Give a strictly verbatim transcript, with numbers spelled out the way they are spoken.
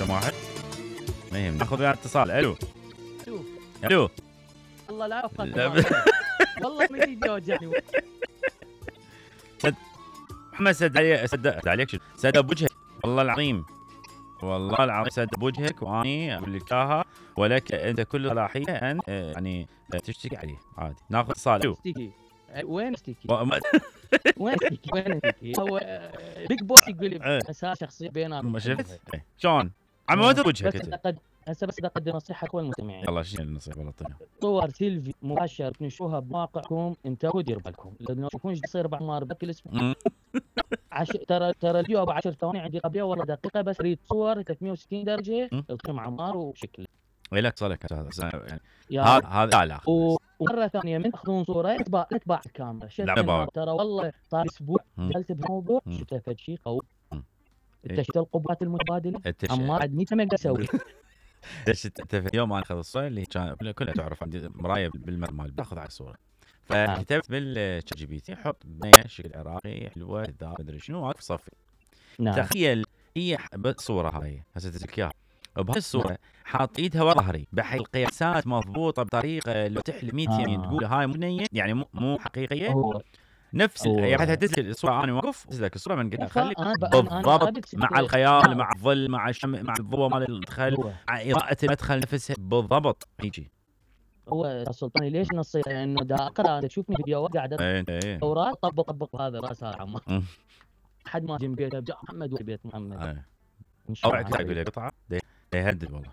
رقم واحد ما يهم ناخذ وياه اتصال. الو الو الو والله لا افقك لا ب- والله ما يجي يوجعني. محمد سد علي سد عليك شو سد بوجهك والله العظيم والله العظيم سد بوجهك واني اقول لك اياها ولك انت كل صلاحيه ان آه، يعني آه، تشتكي عليه عادي. ناخذ اتصال. الو اشتكي وين اشتكي؟ و- ما- وين اشتكي؟ وين اشتكي؟ هو بيج بوس يقول لي إيه. مساء شخصيه بيناتكم. ما شفت إيه. شلون عم وين وجهك بس انت؟ أقد... هسه بس اقدم نصيحه لكل المستمعين. يلا شنو النصيحه والله طيب. صور سيلفي مباشر تنشوها بمواقعكم انتبهوا ديروا بالكم لانه تشوفون ايش يصير بعد ما بكل اسبوع. مم. عش... ترى ترى الفيديو ابو عشر ثواني عندي قبلها والله دقيقه بس اريد صور ثلاثمية وستين درجه مم. القيم عمار وشكل لك صالك هذا يعني يا هذا هذا لا و- ومره ثانيه من تاخذون صوره اتباع اتباع الكاميرا شد لا، النار. باوع. ترى والله صار اسبوع مم. دخلت بموضوع مم. شفت فد شيء قوي. مم. انت شفت القبات المتبادله انت عمار عاد مية ما اقدر اسوي. ليش انت في اليوم انا اخذ الصوره اللي كان كلها تعرف عندي مرايه بالمال باخذ على الصوره فكتبت بالشات جي بي تي حط بنيه شكل عراقي حلوه ذا مدري شنو واقف صفي. نعم تخيل هي الصوره هاي هسه تدرك اياها بهاي الصوره حاط ايدها ورا ظهري بحيث القياسات مضبوطه بطريقه لو تحلم مية يمين آه. تقول هاي مو بنيه يعني مو, مو حقيقيه هو نفس هو- يعني حتى تدرك الصوره انا واقف تدرك الصوره من قدام خليك أنا- أنا- أنا بالضبط قابلت مع فكرة. الخيال نعم. مع الظل مع الشمع مع الضوء مال الدخل هو مع اضاءه المدخل نفسها بالضبط هيجي. هو السلطاني ليش نصيحه انه دا اقرا انت تشوفني فيديوهات قاعد ايه انت ايه اوراق طبق طبق هذا راس هذا عمار مم. حد ما جنب بيته جاء محمد وبيت محمد ايه ان شاء اوعك الله تقول لي قطعه ده يهدد والله.